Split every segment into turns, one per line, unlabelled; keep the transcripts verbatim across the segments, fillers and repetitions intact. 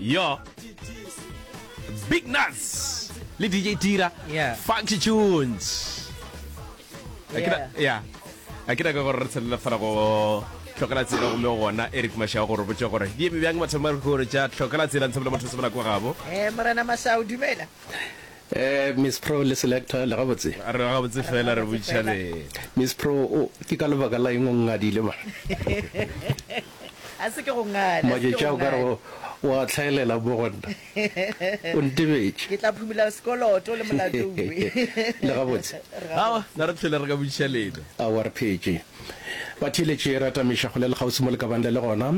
Yo. Big Nuts le D J Tira.
Yeah.
Funky Tunes. A ke na-
Yeah.
Yeah. A ke nyaka gore re tshelele fela go tlhokela tsela gomme gona Eric Mashao gore botse gore di eme bjang mathomo a gore tša tlhokela tsela ntshe motho se bola kwa gabo.
Eh morena Mashao, dumela.
Eh Miss Pro le selector, le gabotse?
A re gabotse fela, re botšiša le.
Miss Pro, o ke ka lebaka la eng o ngadile ba?
A se ke go ngala.
Matšatši a o ka re o a tlhaelela mo go nna. O ntebetše.
Ke tla phumula sekoloto le molato uwe.
Le gabotse?
Awa, na re tlhole re ka botšiša lena.
Awa, re phetše. Batheeletši, re atamiša kgole le kgauswi mo le ka bang le le gona.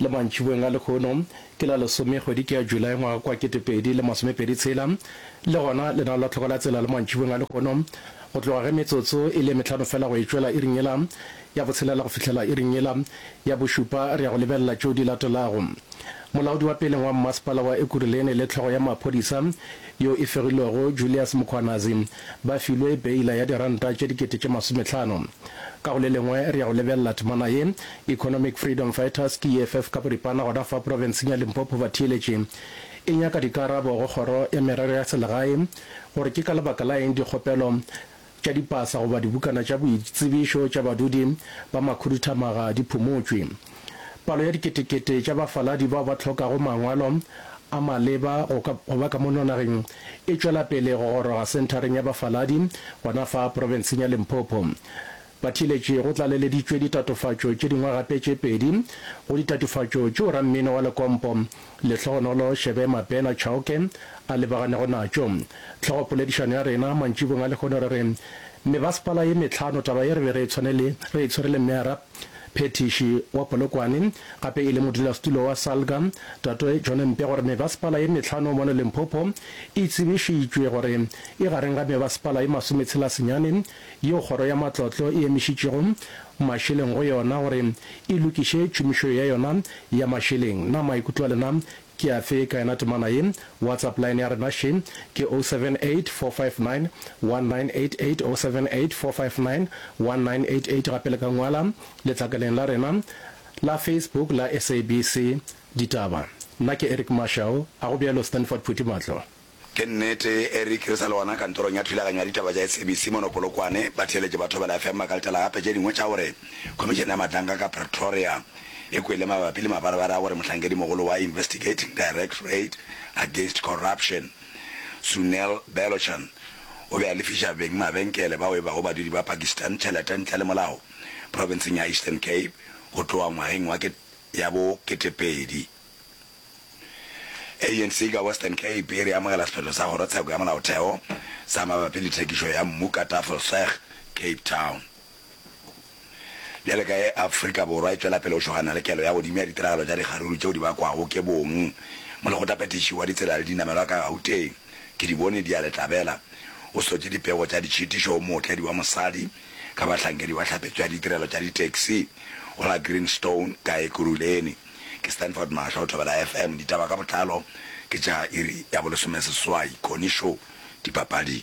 Le mantšiboeng a lehono, ke la lesome kgwedi ke ya July ngwaga kwa ketepedi le masomepedi tshela. Le gona lenao la tlhoko la tsela le mantšiboeng a lehono, go tloga ge metsotso e le mehlano fela go e tšwela iring yela ya botshelela go fihlela iring yela ya bošupa, re ya go lebelela tšeo di latelago. Molaodi wa peleng wa mmasepala wa Ekurhuleni le hlogo ya maphodisa yo e fegilwego Julius Mkhwanazi ba filwe beila ya diranta tše dikete tše masomehlano. Ka go le lengwe re ya go lebelela temana ye, Economic Freedom Fighters ke E F F ka boripana gona fa profenseng ya Limpopo batheeletši e nyaka dikarabo go kgoro ya merero ya selegae gore ke ka lebaka la eng dikgopelo tša dipasa goba dibukana tša boitsebišo tša badudi ba makhuduthamaga di phumotšwe. Palo ya diketekete tša bafaladi bao ba hlokago mangwalo a maleba go ka go ba ka mono nageng e tšwela pele go goroga senthareng ya bafaladi gona fa profenseng ya Limpopo. Batheeletši, go tlaleleditšwe ditatofatšo tše dingwe gape tše pedi go ditatofatšo tšeo rammino wa lekompo Lehlogonolo Shebe Mabena Chauke a lebaganego natšo. Tlhogopoledišano ya rena mantšibong a lehono re re mebasepala ye mehlano, taba ye re be re e tshwanele re e tshwere le meyara phethiši wa Polokwane gape e le modulasetulo wa Salga Tate John Mpe gore mebasepala ye mehlano mono Limpopo e tsebišitšwe gore e gareng ga mebasepala ye masometshela senyane yeo kgoro ya matlotlo e emišitšego mašeleng go yona gore e lokiše tšhomišo ya yona ya mašeleng. Na maikutlo a lena ke afe ka yona temana ye? WhatsApp line ya rena še ke zero seven eight, four five nine, one nine eight eight, zero seven eight, four five nine, one nine eight eight. Gape le ka ngwala letlakaleng la rena la Facebook la S A B C Ditaba. Nna ke Eric Mashao, a go bjalo Stanford Phuti Matlo?
Ke nnete, Eric, re sa le gona kantorong ya thulaganyo ya ditaba tša S A B C mono Polokwane. Batheeletši ba Thobela F M ba ka letela gape tše dingwe tša gore Khomišene ya Matlanka ka Pretoria e kwele mabapi le mabarebare a gore mohlankedimogolo wa Investigating Directorate Against Corruption Sunel Belochan o be a lefiša beng mabenkele bao e bago badudi ba Pakistan tšhelete ntle le molao profenseng ya Eastern Cape go tloga ngwageng wa ya bo ketepedi. A N C ka Western Cape e re amogela sephetho sa kgorotsheko ya molaotheo sa mabapi le thekišo ya mmu ka Tafelsig, Cape Town. Bjale ka ge Afrika Borwa e tšwela pele go šogana le kelo ya godimo ya ditiragalo tša dikgaruru tšeo di bakwago ke bong, molekgotlaphethiši wa ditsela le dinamelwa ka Gauteng, Kedibone Diale Tlabela, o sotše dipego tša ditšhitišo go mootledi wa mosadi ka bahlankedi ba tlhapetšo ya ditirelo tša ditaxi go la Greenstone ka Ekurhuleni. Ke Stanford Mahlo, Thobela F M, ditaba ka botlalo ke tša iri ya bolesomeseswai. Connie Show, dipapadi.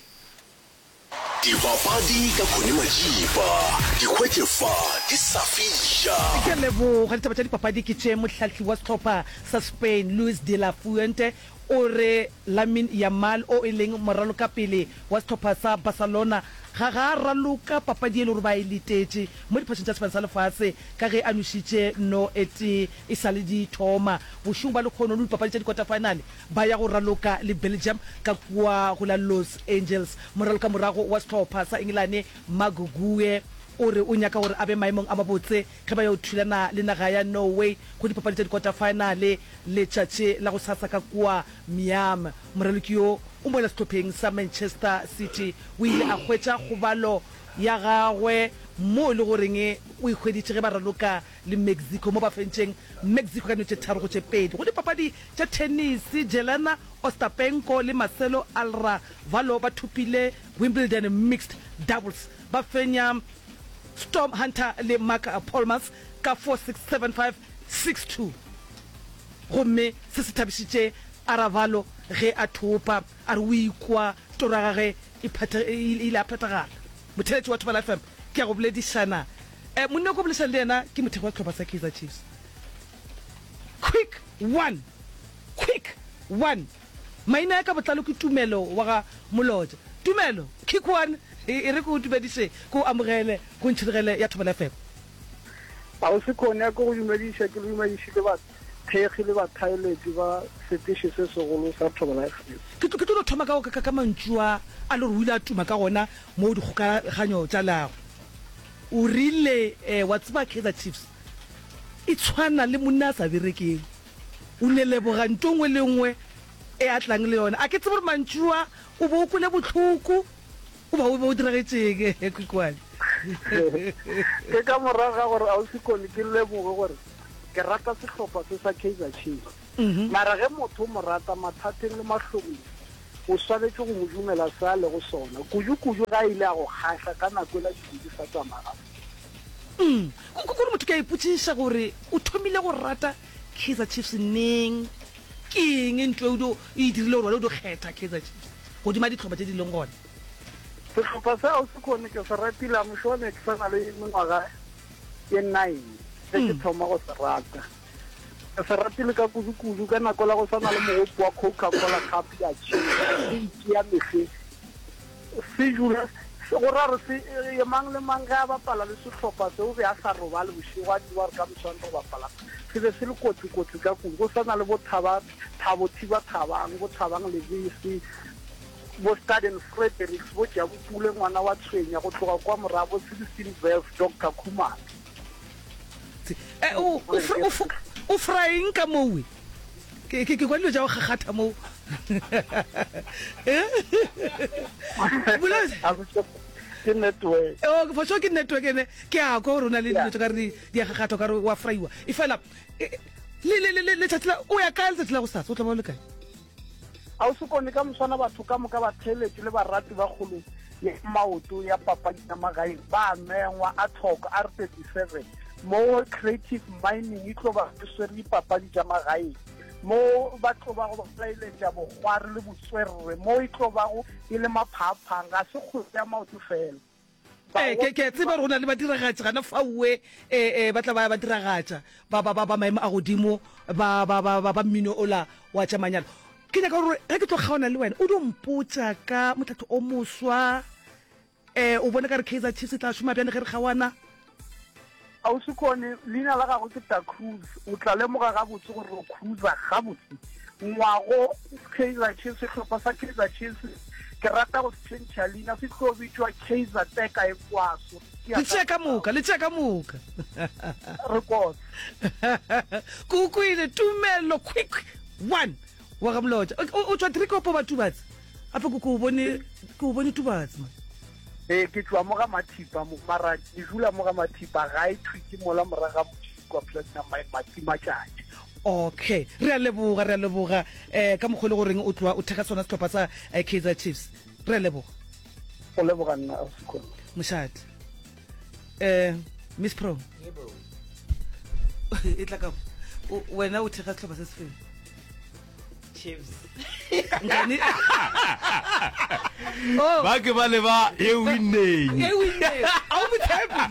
Dipapadi ka Connie Majiba, di hwetše fa di sa fiša.
Ke a leboga. Ditaba tša dipapadi ke tše. Mohlahli wa sehlopha sa Spain Luis de la Fuente o re Lamine Yamal o e leng moralokapele wa sehlopha sa Barcelona ga ga a raloka papadi e le gore ba e letetše mo diphašeng tša Sefane sa Lefase ka ge a nwešitše no e tee e sa le di thoma. Bošego ba lekgono dipapadi tša di-quarter-final ba ya go raloka le Belgium ka kua go la Los Angeles. Moralokamorago wa sehlopha sa Engelane Marc Guehi o re o nyaka gore a be maemong a mabotse ge ba yo thulana le naga ya Norway go dipapadi tša di-quarter-final letšatši la go sasa ka kua Miami. Moraloki yo o mola sehlopheng sa Manchester City o ile a hwetša kgobalo ya gagwe mo e le goreng o e hweditše ge ba raloka le Mexico mo ba fentšeng Mexico ka dino tše tharo go tše pedi. Go dipapadi tša tennis, Jelena Ostapenko le Marcelo Arevalo ba thopile Wimbledon mixed doubles, ba fenya Storm Hunter le Marc Polmans ka four six, seven five, six two, gomme se se thabišitše Arevalo ge a thopa, a re o ikwa toro ya gagwe e e ile a phethagala. Motheeletši wa Thobela F M, ke ya go boledišana um monna o ko boledišana le yena ke mothekgo wa sehlopha sa Kaizer Chiefs. Quick one, quick. one. Maina a ka botlalo ke Tumelo wa ga Molotša. Tumelo, Quick one, e, e re ke o dumediše, ke o amogele go Ntšhirigele ya Thobela F M.
Ausi Connie, a ke go dumediše, ke le dumediše le bathekgi le bathaeletši ba seteše se segolo sa Thobela F M.
Ke tlo, ke tlo no thoma ka, ka, ka mantšu a, a le gore o ile a tuma ka gona mo dikgokaganyo tša leago. O rile, eh, wa tseba Kaizer Chiefs e tshwana le monna a sa berekeng. O ne leboga nto nngwe le nngwe e a tlang le yona. A ke tsebe gore mantšu a o be o kwele bohloko goba o be o diragetšeng, Khukhwane.
Ke ka morago ga gore Ausi Connie ke lemoge gore ke rata sehlopha se sa Kaizer Chiefs. Mara ge motho o mo rata mathateng le mahlomong, o swanetše go mo dumela se a lego sona, kudu-kudu ge a ile a go kgahla ka nako ela dilo di sa tsamaya gabotse.
Mm. Ko, ko, kore motho ke a ipotšiša gore o thomile go rata Kaizer Chiefs neng? Ke eng ntho e o dio e dirile gore wena o dio kgetha Kaizer Chiefs godima dihlopha tše di leng gona?
Sehlopha se Ausi Connie ke se ratile, I'm sure ne ke sa na le mengwaga ye nine ge ke thoma go se rata. Ke se ratile ka kudu-kudu ka nako la go swana le mogopo wa Coca-Cola Cup ya tšhela, se itia mehleng. Se dula se, go ra gore se, e, mang le mang ge a bapala le sehlopha se o be a sa robale bošego a tseba gore ka moswane re bapala. Se be se le kotsi-kotsi ka kudu, go swana le bo Thaba, Thabo Thiba Thabang, bo Thabang Lebese, bo Staden Fredericks, bo Jabu Pule ngwana wa Tshwenya, go tloga kwa morago, bo Sixteen Verse, Doctor Khumalo.
Eh, o, o, fr-, o, fr-, o fra eng ka mowe? Ke, ke, ke kwa dilo tša go kgakgatha moo. Eh? Bolela.
Ke network.
Oh, for sure ke network ene. Ke a kwa gore o na le dilo tša ka re di, di a kgakgatha, o ka re wa fraiwa. E fela, e, le, le, le, le, letšatši la, o ya kae letšatši la gosasa? O tla ba o le kae?
A o se kone ka moswana batho ka moka ba theeletše le barati ba kgolo ya maoto ya papadi ya magaeng ba mengwa a thoko R thirty-seven mo Creative Mining e tlo ba e swere dipapadi tša magaeng mo ba tlo ba go ba laeletša bokgwari le botswerere mo e tlo bago e le maphaphang ga se kgwele ya maoto fela.
Eh, ke, ke a tseba gore go na le badiragatši gana faowe, eh, eh, ba tla ba ba diragatša ba, ba, ba, ba maemo a godimo ba, ba, ba, ba, ba mmino ola wa tša manyalo. Ke nyaka gore ge ke tlo kgaona le wena o dio mpotša ka motlhatho o moswa, eh, o bone ka re Kaizer Chiefs e tla šoma bjang ge re kgaoana?
Ausi Connie, leina la gagwe ke Da Cruz. O tla lemoga gabotse gore re cruiser gabotse. Ngwago Kaizer Chiefs, sehlopha sa Kaizer Chiefs, ke rata go se tšhentšha leina, se tlo bitšwa Kaizer Teka e Kwaso.
Le tšea ka moka, le tšea ka moka.
Re kotse.
Ke o kwele, Tumelo quick one wa ga Molotša. O, o, o tšwa Driekopo ba Tubatse? Gape ke, ke o bone, ke o bone Tubatse, man.
Ee, ke tšwa mo ga Mathipa mo, mara ke dula mo ga Mathipa, gae thwi ke mola morago ga motšhini kwa Platinum Mine, Matimatšatši.
Okay, re a leboga, re a leboga, eh, ka mokgwa e le goreng o tloa o thekga sona sehlopha sa, eh, Kaizer Chiefs. Re a leboga.
Go leboga nna, Ausi Connie.
Mošate. Eh, Miss Pro.
Yebo.
E tla ka, o, wena o thekga sehlopha se sefeng?
Chiefs.
Nkane? Oh.
Ba ke ba leba ye winneng.
Ye winneng. A o mo tshepe.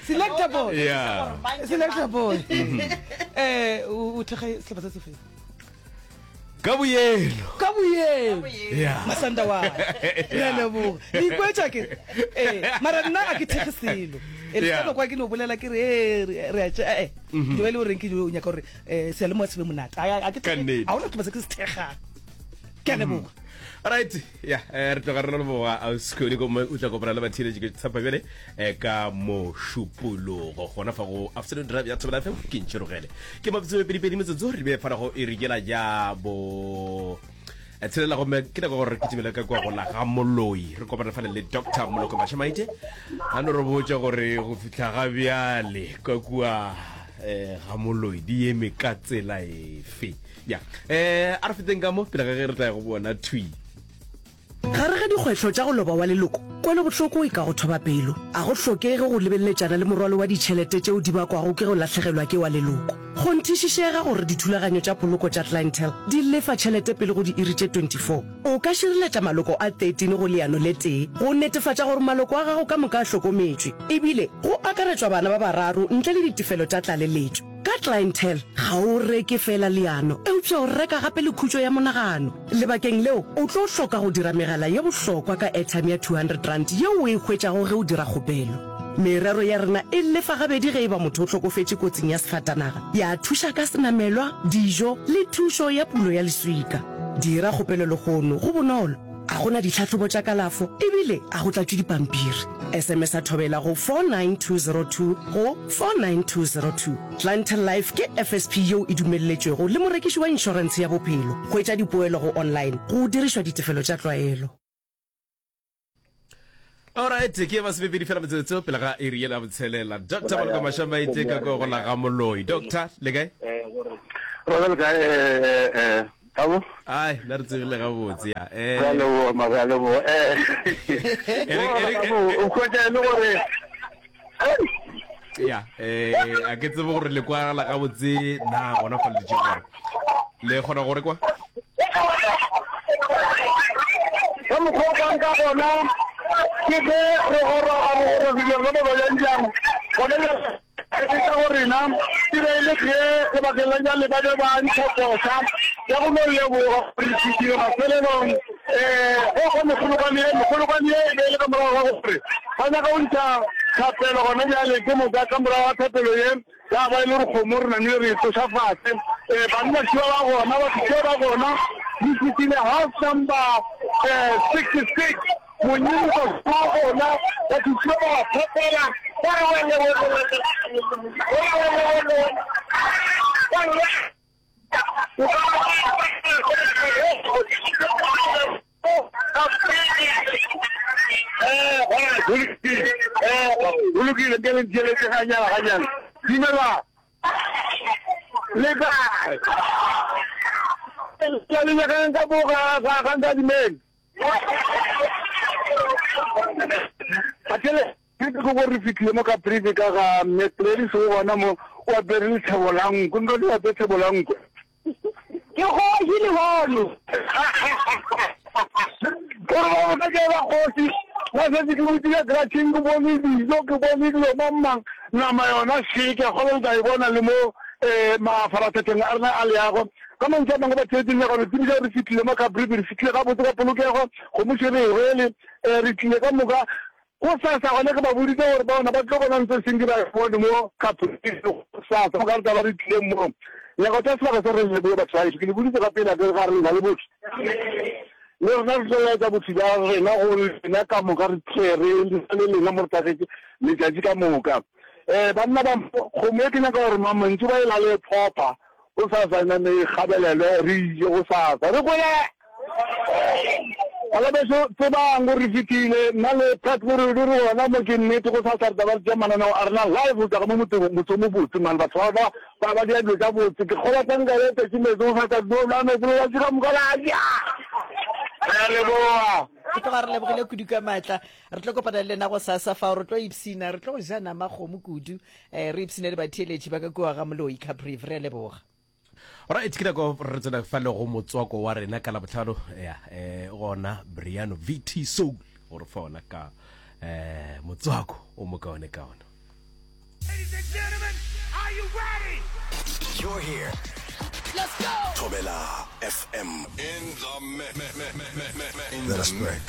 Selector boy.
Yeah.
Selector boy. Eh, o, o thekga sehlopha se sefeng?
Ka boyelo.
Ka boyelo.
Yeah.
Masanda wa. Re a leboga. Le ikwetša ke? Eh, mara nna a ke thekge selo. E le
Yeah.
ka kwa ke no bolela ke re, eh, re, re a tše, eh, eh. Ke ba le goreng ke dio nyaka gore, eh, seyalemoya se be monate. A, a, a ke
Ka
thekge,
nnete.
ha hona sehlopha se ke se thekgang. Ke a leboga.
Right, yeah, eh, re tloga re leboga Ausi Connie gomme o tla kopana le batheeletši ke tshepa bjale, eh, ka mošupologo gona fa go Afternoon Drive ya Thobela F M ke ntšhirogele. Ke mabitso pedi pedi metsotso re be fana go e rikela ya bo eh, tshelela gomme ke nako gore re kitimele ka kwa go la ga Moloi. Re kopana fale le Doctor Moloko Mashamaite a no re botša gore go fihla ga bjale ka kua, eh, ga Moloi di eme ka tsela efe. Ya, eh, a re feteng ka mo pele ga ge re tla ya go bona thwi.
Gare ga dikgwetlho tša go loba wa leloko, kwelobohloko e ka go thoba pelo. A go hlokege go lebeleletšana le morwalo wa ditšhelete tšeo di bakwago ke go lahlegelwa ke wa leloko. Kgonthišišega gore dithulaganyo tša poloko tša Clientele di lefa tšhelete pele go diiri tše twenty-four. O ka šireletša maloko a thirteen go leano le tee go netefatša gore maloko a gago ka moka a hlokometšwe, ebile go akaretšwa bana ba bararo ntle le ditefelo tša tlaleletšo. Ka Ka Clientele ga o reke feela leano, eupša o reka gape le khutšo ya monagano. Lebakeng leo, o tlo hloka go dira megala ye bohlokwa ka airtime ya two hundred rand yeo o e hwetšago ge o dira kgopelo. Merero ya rena e lefa gabedi ge e ba motho o hlokofetše kotsing ya sefatanaga, ya thuša ka senamelwa, dijo le thušo ya pulo ya leswika. Dira kgopelo lehono, go bonolo, ga go na ditlhahlobo tša kalafo ebile ga go tlatšwe dipampiri. S M S a Thobela go four nine two zero two go four nine two zero two. Clientele Life ke F S P yeo e dumelletšwego le morekiši wa inšorentshe ya bophelo. Hwetša dipoelo go online go dirišwa ditefelo tša tlwaelo.
Alright, ke masomepedi fela metsotso pele ga iri yela botshelela. Doctor Maloko Mashamaite ka ko go la ga Moloi. Doctor, le kae?
Re le kae eh eh Thabo?
Ai, nna re tsogile gabotse ya. Eh.
Re a leboga, ma re a leboga. Eh. O hwetša e le gore
Ya, eh a ke tsebe gore le kwagala gabotse na gona fa le dutše gona. Le kgona go re kwa?
Ka mokgwa o kwang ka gona ke ge re goroga bogorogilong ge ba bjang gona bjale re feta go rena e be e le ge lebakeng la bjale ba be ba ntšha koša ya go no leboga gore re fihlile mafelelong um go kwa mekgolokwane ye mekgolokwane ye e be e le ka morago ga gore ba nyaka go ntšha thapelo gona bjale ke moka ka morago ga thapelo ye Ya ba e le gore kgomo re namile re e tloša fase. Eh, banna šiba ba gona, batho šiba ba gona. Re fihlile house number eh, sixty-six. Monyinko ba gona, batho šiba ba ba phepela. Ba re wele, wele, wele. Wele, wele, wele, wele. O ka Go lokile, ke le ntheeletše ganyana ganyana. Dumela. Le kae? Le nyakang ka mo ga ga ga Nkadimeng? Bathele. Ke ke gore re fihlile mo Caprivi ka ga Mme Gladys o gona mo o apere lethebo la nkwe. Nka di apere lethebo la nkwe.
Ke kgoši lehono.
Gore ba botsa ke ba kgoši. Nna setse ke butše ka gratšheng ke bone dijo ke bone dilo mang mang nama yona še ke a kgolwa le tla e bona le mo um mafaratlhatlheng a rena a leago. Ka mantšu a mangwe batheetši nyaka go le tsebiša gore re fihlile mo Caprivi re fihlile gabotse ka polokego kgomo še re e rwele um re tlile ka moka Gosasa gona ke ba boditše gore bona ba tlo bona ntho e seng ke ba e bone mo Caprivi gosasa mo ka re tla ba re tlileng mo. Nyaka go tšea sebaka se re leboge batho ba gešo. Ke le boditše ka pele akere ga re lena le botho. Le rena re tlo laetša botho bja rena go lena ka moka re tle re le lena mo re tlagetše letšatši ka moka. Um banna ba kgomo e ke nyaka gore mamantšu ba e lale phopha Gosasa e name e gabelelwe, re ije gosasa. Re kwele! Bana bešo, tsebang gore re fihlile. Nna le Pat Morudi re gona mo, ke nnete. Gosasa re tla ba re tšea mananeo a rena live go tšwa ka mo motseng, motse o mobotse, man. Batho ba ba, ba, ba dira dilo tša botse. Ke kgolwa tla nka be tletše meetse gosasa, re tlo nwa meetse letšatši ka moka la ja. Re a leboga.
Re tloga re lebogile kudu ka maatla. Re tlo kopana le lena gosasa fao, re tlo ipshina, re tlo ja nama kgomo kudu. Eh, re ipshine le batheeletši ba ka kua ga Moloi Caprivi. Re a leboga.
Alright, ke nako re tsena fa le go motswako wa rena ka Labohlano. Ya, eh, gona Briano V T Soul gore fa ona ka eh motswako o mokaone kaone.
Ladies and gentlemen, are you ready?
You're here. Let's go. Thobela F M. In the mix. Let us pray.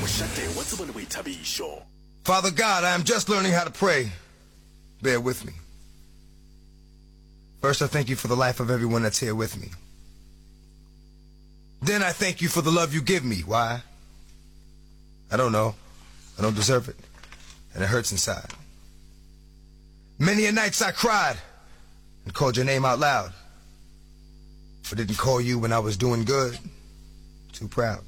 Mošate wa tsebo le boithabišo.
Father God, I am just learning how to pray. Bear with me. First, I thank you for the life of everyone that's here with me. Then I thank you for the love you give me. Why? I don't know. I don't deserve it. And it hurts inside. Many a nights I cried and called your name out loud. But didn't call you when I was doing good. Too proud.